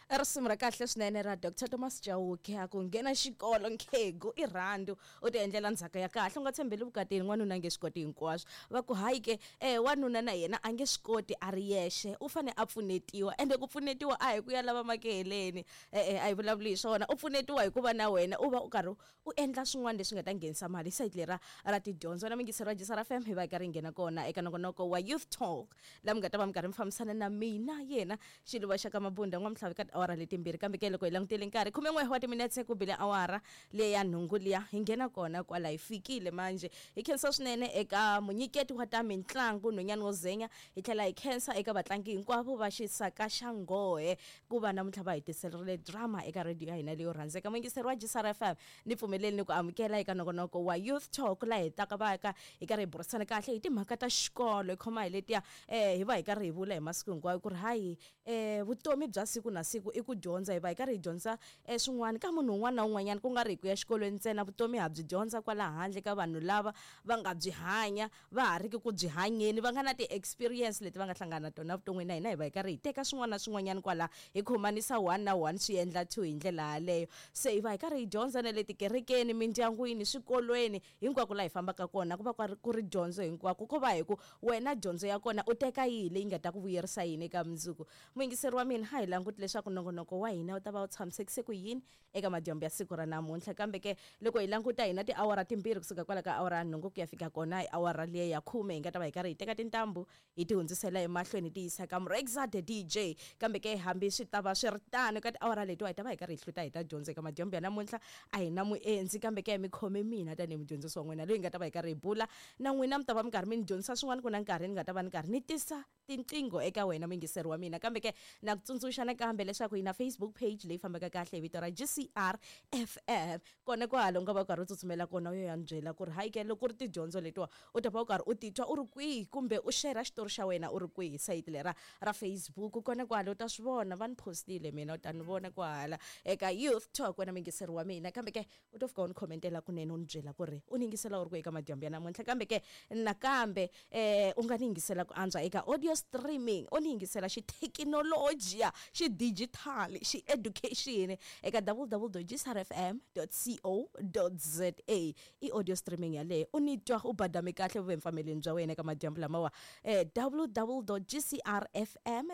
Risimu ra kahle swinene ra Dr Thomas Chauke a ku nghena xikolo nkhegu i rhandu u ti endlela ndzhaka ya kahle u nga tshembeli vukatini n'wanuna a nge swi koti hinkwaswo. Va ku hayi ke wanuna na yena a nge swi koti a ri yexe u fane a pfunetiwa ende ku pfunetiwa a hi ku ya lava makeheleni e-e a hi vulavuli hi swona u pfunetiwa hikuva na wena u va u karhi u endla swin'wana leswi nga ta nghenisa mali sayiti lera ra tidyondzo na mingisero wa Jisara FM hi va hi karhi hi nghena kona eka nongonoko wa Youth Talk la mi nga ta va mi karhi mi fambisana na mina yena Xiluva xa ka Mabunda n'wamhlavi ka tiawara letimbirhi kambe ke loko hi langutele nkarhi 11 wa timinetse ku bile awara leya ya nhungu liya hi nghena kona kwala hi fikile manje hi khensa swinene eka munyiketi wa ta mintlangu nhwenyani wo zenya hi tlhela hi khensa eka vatlangi hinkwavo va xisaka xa nghohe ku va namuntlha va hi tiselerile drama eka radio ya hina leyo rhandzeka muyingiseri wa Jisara FM ni pfumeleli ni ku amukela eka nongonoko wa Youth Talk laha hi taka va ka hi karhi hi burisana kahle hi timhaka ta xikolo hi khoma hi letiya hi va hi karhi hi vula hi masiku hinkwayo ku ri hayi vutomi bya siku na siku i ku dyondza hi va hi karhi hi dyondza swin'wana ka munhu un'wana na un'wanyana ku nga ri hi ku ya xikolweni ntsena vutomi ha byi dyondza kwala handle ka vanhu lava va nga byi hanya va ha riki ku byi hanyeni va nga na ti-experience leti va nga hlangana na tona evuton'wini na hina hi va hi karhi hi teka swin'wana na swin'wanyana kwala hi khomanisa one na one swi endla two hi ndlela yaleyo se hi va hi karhi hi dyondza na le tikerekeni mindyangwini swikolweni hinkwako laha hi fambaka kona ku va ku ri dyondzo hinkwako ko va hi ku wena dyondzo ya kona u teka yihi leyi nga ta ku vuyerisa yini eka mundzuku muyingiseri wa mina a hi languti leswaku nongonoko wa hina wu ta va wu tshamisekise ku yini eka madyambu ya siku ra namuntlha kambe ke loko hi languta hina tiawara timbirhi kusuka kwala ka awara ya nhungu ku ya fika kona hi awara liya ya khume hi nga ta va hi karhi hi teka tintambu hi ti hundzisela emahlweni hi ti yisa ka Mrexa the DJ kambe ke hambi swi ta va swi ri tano eka tiawara letiwa hi ta va hi karhi hi hluta hi ta dyondza eka madyambu ya namuntlha a hi na muendzi kambe ke mi khome mina tanihi mudyondzisi wa n'wina loyi hi nga ta va hi karhi hi bula na n'wina mi ta va mi karhi mi ni dyondzisa swin'wana ku na nkarhi ni nga ta va ni karhi ni tisa tinqingho eka wena muyingiseri wa mina kambe ke na ku tsundzuxa nakambe leswaku hi na Facebook page leyi fambaka kahle hi vito ra GCR FM kona kwala u nga va u karhi u tsutsumela kona u yo ya ni byela ku ri hayi ke loko ku ri tidyondzo letiwa u ta va u karhi u titwa u ri kwihi kumbe u shera xitori xa wena u ri kwihi sayiti lera ra Facebook kona kwala u ta swi vona va ni postile mina u ta ni vona kwahala eka Youth Talk wena muyingiseri wa mina kambe ke u to fika u ni khomentela kunene u ni byela ku ri u ni yingisela u ri kwihi eka madyambu ya namuntlha kambe ke nakambe u nga ni yingisela ku antswa eka audio streaming u ni yingisela xithekinolojiya xidijithali xi-education eka www.gsrfm.co.za i audio streaming yaleyo u ni twa u badame kahle vuvemfameleni bya wena eka madyambu lamawa www.gcrfm.